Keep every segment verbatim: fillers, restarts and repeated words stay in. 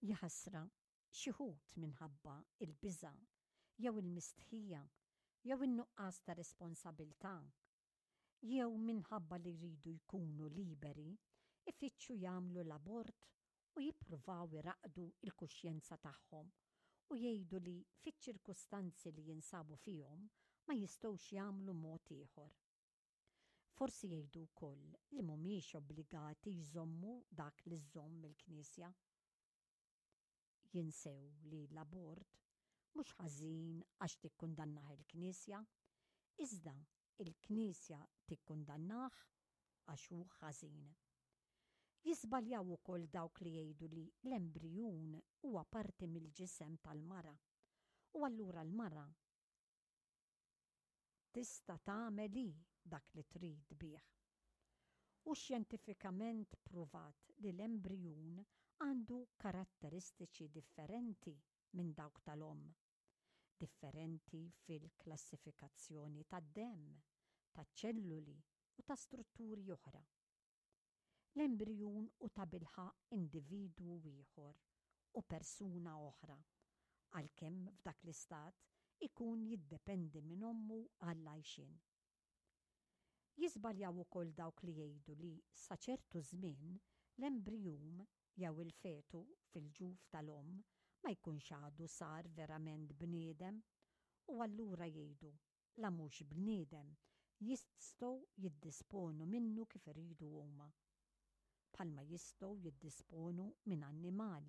Jaħasra, xi wħud minħabba il-biża' jew il-mistħija jew in-nuqqas ta' responsabilità jew minħabba li jridu jkunu liberi, ifittxu jagħmlu l-abort u jippruvaw iraqdu il-kuxjenza tagħhom u jgħidu li fiċ-ċirkustanzi li jinsabu fihom ma jistgħux jagħmlu mod ieħor. Forsi jgħidu wkoll li mhumiex obbligati jżommu dak li żżomm il-Knisja. Jinsew li l-abort mhux ħażin għax tikkundannah il-Knisja, iżda il-Knisja tikkundannah għax hu ħażin. Jiżbaljaw ukoll dawk li jgħidu li l-embrijun huwa parti mill-ġisem tal-mara u allura l-mara tista' tagħmel hi dak li trid bih. U xjentifikament pruvat li l-embrijun għandu karatteristiċi differenti minn dawk tal-omm. Differenti fil-klassifikazzjoni tad-demm, taċ-ċelluli u ta' strutturi oħra. L-embrijun hu tabilħaqq individwu ieħor u persuna oħra, għalkemm f'dak l-istat ikun jiddependi minn ommu għall-għajxien. Jiżbaljaw ukoll dawk li jgħidu li sa ċertu żmien l-embrijun jew il-fetu fil-ġuf tal-omm ma jkunx għadu sar verament bniedem u allura jgħidu la mhux bniedem jistgħu jiddisponu minnu kif iridu huma, bħalma jistgħu jiddisponu minn annimal.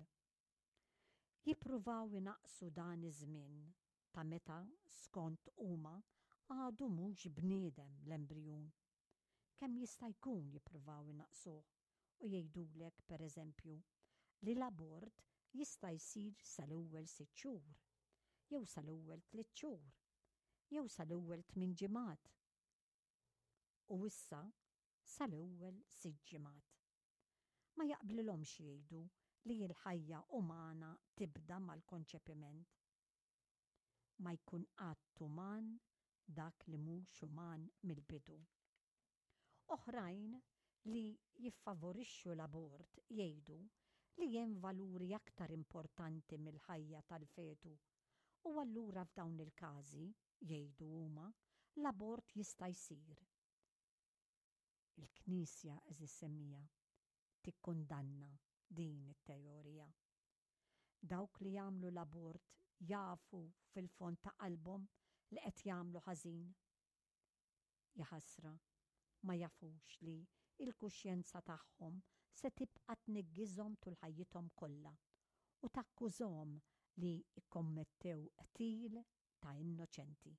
Jippruvaw inaqqsu dan iż-żmien ta' meta skont huma għadu mhux bniedem l-embrijun. Kemm jista' jkun jippruvaw inaqqsuh u jgħidulek pereżempju li l-abort jista' jsir sal-ewwel sitt xhur, jew sal-ewwel tliet xhur, jew sal-ewwel tmien ġimgħat. U issa sal-ewwel sitt ġimgħat. Ma jaqblilhomx jgħidu li l-ħajja umana tibda mal-konċepiment. Ma jkun qatt uman dak li mhux uman mill-bidu. Oħrajn li jiffavorixxu l-abort jgħidu li hemm valuri aktar importanti mill-ħajja tal-fetu u allura f'dawn il-każi, jgħidu huma, l-abort jista' jsir. Il-Knisja, għeżież semmiegħa, tikkundanna din it-teorija. Dawk li jagħmlu l-abort jafu fil-fond ta' qalbhom li qed jagħmlu ħażin. Jaħasra, ma jafux li il-kuxjenza tagħhom se tibqa' tniggiżhom tul ħajjithom kollha u takkużhom li kkommettew qtil ta' innoċenti.